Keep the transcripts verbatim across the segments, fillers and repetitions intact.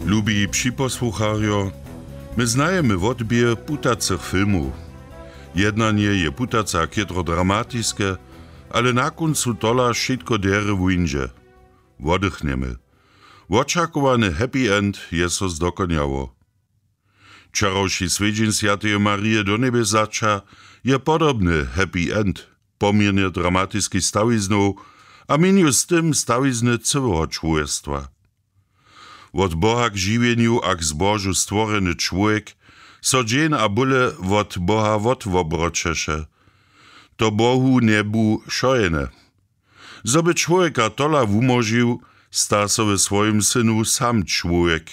Lubi připosłucharjo, my znajemy wotběh putacych filmow. Jednanje je putace a chětro dramatiske, ale na kóncu tola wšitko derje wuńdźe. Woddychnjemy. Wočakowany happy end je so zdokonjało. Wčerawši swjedźeń swjateje Marije do njebjezaća je podobny happy end poměrnje dramatiskich stawiznow a měnju z tym stawizny cyłeho čłowjestwa. Wot Boha k žiwjenju a k zbožu stworjeny čłowjek so dźeń a bóle wot Boha wotwobroćeše. To Bohu njebu wšojene. Zo by čłowjeka tola wumóžił, sta so we swojim synu sam čłowjek.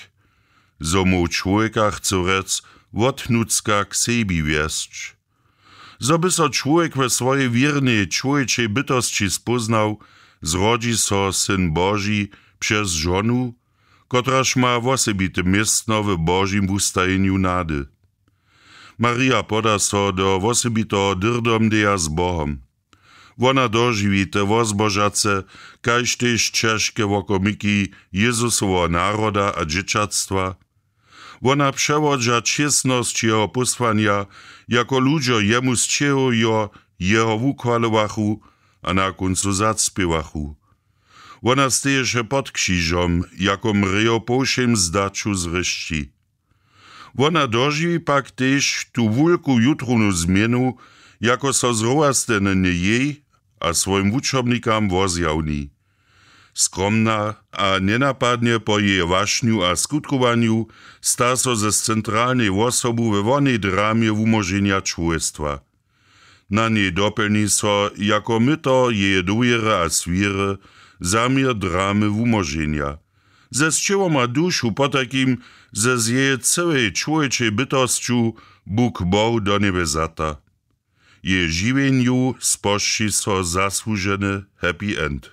Zo móhł čłowjeka, chcu rjec, wotnutřka k sebi wjesć. Zo by so čłowjek we swojej wěrnej čłowječej bytosći spóznał, zrodźi so Syn Boži přez žonu, kotraž ma wosebite městno w Božim wustajenju nady. Marija poda so do wosebiteho dyrdomdeja z Bohom. Wona dožiwi te wozbožace, kaž tež ćežke wokomiki Jezusoweho naroda a dźěćatstwa. Wona přewodźa čěsnosć jeho pósłanja, jako ludźo jemu sćěhujo, jeho wuchwalowachu a na kóncu zacpěwachu. Wona steješe pod křižom, jako mrějo po wšěm zdaću zrěšći. Wona dožiwi pak tež tu wulku jutrownu změnu, jako so zrowastenje jej a swojim wučobnikam wozjawni. Skromna a njenapadnje po jeje wašnju a skutkowanju sta so z centralnej wosobu we wonej dramje wumóženja čłowjestwa. Na njej dopjelni so jako myto jeje dowěry a swěry zaměr dramy wumóženja. Ze sćěłom a dušu potajkim, ze z jeje cyłej čłowječej bytosću Bóh Bohu do njebjezata. Jeje žiwjenju spožči so zasłuženy happy end.